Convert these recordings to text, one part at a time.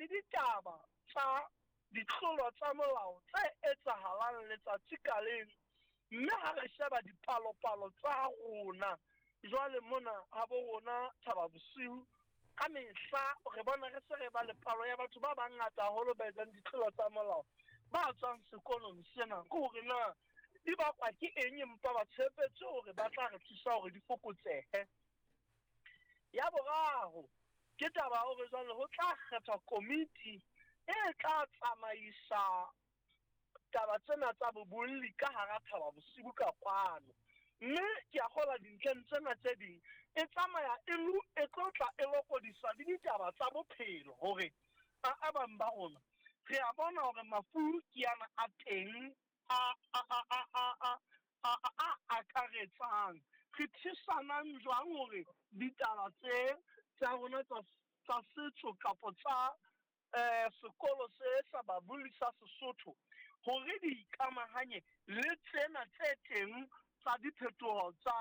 le ditaba tsa ditlolo tsa molao tse etsahalang letsatsi ka leng, mme ha re sheba dipalopalo tsa rona jwale mona habo rona Thaba Bosiu, ka mehla re bona re se re ba le palo ya batho ba bangata haholo ba etsang ditlolo tsa molao ba tswang sekolong sena. Ke hore na di bakwa ke eng, empa ba tshepetse hore ba tla re thusa hore di fokotsehe. Ya boraro ke taba ya hore jwale ho tla kgethwa komiti e tla tsamaisa taba tsena tsa bobolli ka hara Thaba Bosiu ka kwano. Mme ke a kgolwa dintlheng tsena tse ding e tsamaya e e tlo tla e lokodiswa le ditaba tsa bophelo hore a bang ba rona re a bona hore mafu ke ana a teng a a a a a a a a akaretsang. Re thusanang jwang hore ditaba tse tsa rona tsa tsa setso kapo tsa sekolo se sa babolli sa Sesotho hore di ikamahanye le tsena tse teng tsa diphetoho tsa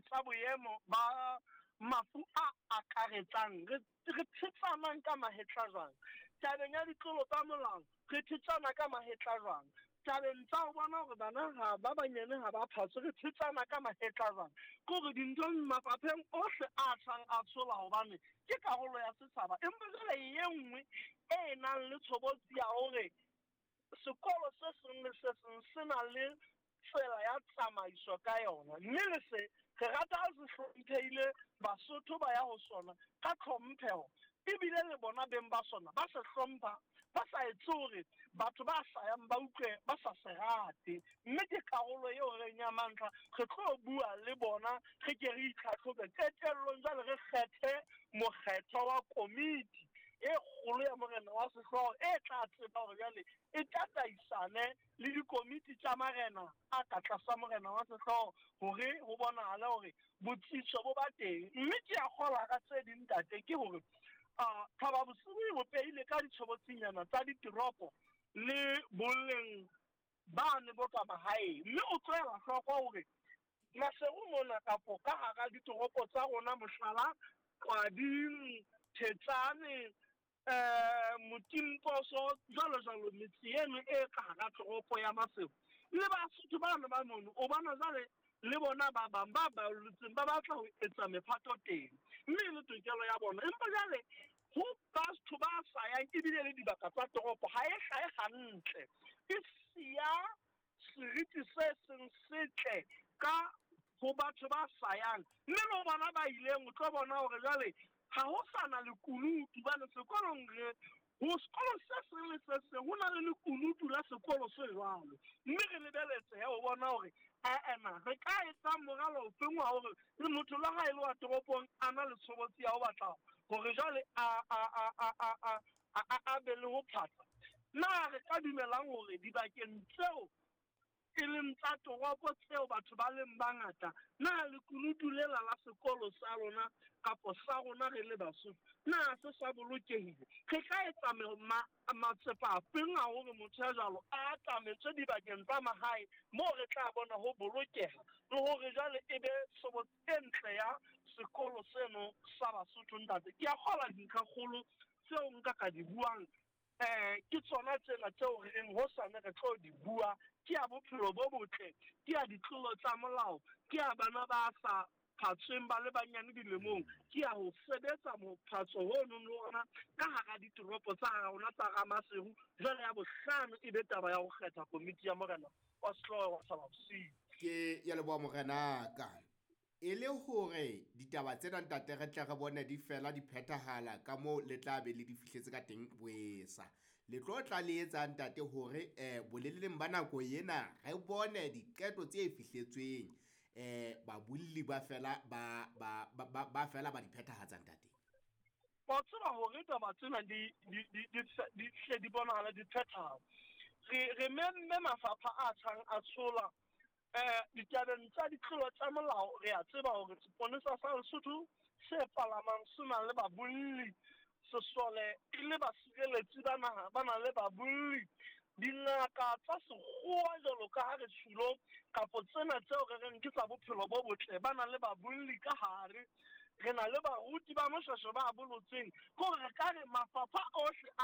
tsa boemo ba mafu a akaretsang. Re re thetsanang ka mahetla jwang tabeng ya ditlolo tsa molao, re thetsana ka mahetla jwang tabeng tsa ho bona hore bana ha ba banyane ha ba phatswe, re thetsana ka mahetla jwang. Ke hore dinthong mafapheng ohle a tshang a tshola hobane ke karolo ya setjhaba, empa jwale e nngwe e nang le tshobotsi ya hore sekolo se seng le se seng se na le tsela ya tsamaiso ka yona, mme le se re rata ha se hlomphehile, Basotho ba ya ho sona ka tlhompheho, ebile le bona beng ba sona ba se hlompha, ba sa etse hore batho ba sa yang ba utlwe ba sa se rate. Mme ke karolo eo re reng ya mantlha re tlo bua le bona, re ke re itlhatlhobe qetellong, jwale re kgethe mokgethwa wa komiti e kgolo ya morena wa sehlooho e tla tseba hore jwale e tataisane le dikomiti tsa marena a ka tlasa morena wa sehlooho hore ho bonahale hore botsitso bo ba teng. Mme ke a kgolwa ka tse ding, ntate, ke hore Thaba Bosiu e bopehile ka ditshobotsinyana tsa ditoropo le boleng bane bo ka mahaeng, mme o tlohela hloko hore Maseru mona kapo ka hara ditoropo tsa rona, mohlala Qwading, Thetsane, Motimposo, jwalo jwalo, metse eno e ka hara toropo ya Maseru le Basotho bano ba mono, o bona jwale le bona ba bang ba balletseng ba batla ho etsa mephato teng, mme e le tokelo ya bona. Empa jwale ho batho ba sa yang ebile le dibaka tsa toropo ha e hlahe hantle, e siya seriti se seng setle ka ho batho ba sa yang, mme le ho bona ba ileng o tlo bona hore jwale ha ho sa na lekunutu, hobane sekolong re ho sekolo se seng le se seng ho na le lekunutu la sekolo se jwalo, mme re lebeletse he ho bona hore ae na re ka etsang moralo ofeng wa hore le motho le ha e le wa toropong a na le tshobotsi ya ho batla hore jwale a a a a a a a a be le ho phatsa. Na re ka dumelang hore dibakeng tseo e leng tsa toropo tseo batho ba leng bangata, na lekunutu lela la sekolo sa lona kapo sa rona re le Basotho, na se sa bolokehile? Re ka etsa matsepa afeng a hore motho ya jwalo a atametswe dibakeng tsa mahae moo re tla bona ho bolokeha le hore jwale e be tshobotsi e ntle ya sekolo seno sa Basotho? Ntate, ke a kgolwa dintlhakgolo tseo nka ka di buang ke tsona tsena tseo re reng hosane re tlo di bua. Ke ya bophelo bo botle, ke ya ditlolo tsa molao, ke ya bana ba sa phatsweng ba le banyane dilemong, ke ya ho sebetsa mophatso hono le ona ka hara ditoropo tsa hara rona tsa Ramaseru. Jwale ya bohlano e be taba ya ho kgetha komiti ya morena wa sehlooho wa Thaba Bosiu. Ke ya leboha morenaka. E le hore ditaba tsena ntate re tle re bone di fela di phethahala ka moo le tla be le di fihletse ka teng boesa. Le tlo tla le etsa ntate hore boleleleng ba nako ena re bone diqeto tse fihletsweng babolli ba fela ba ba ba ba fela ba di phethahatsa ntate. Wa tseba hore taba tsena di di di di di hle di bonahala di phethahala. Re re memme mafapha a tshang a tshola. Ditabeng tsa ditlolo tsa molao, re a tseba hore seponesa sa Lesotho se palamang se na le babolli, sesole e le basireletsi ba naha ba na le babolli, dingaka tsa sekgowa jwalo ka ha re tjhilo kapo tsena tseo re reng ke tsa bophelo bo botle ba na le babolli ka hare, re na le baruti ba moshweshwe ba bolotseng. Ke hore re ka re mafapha ohle a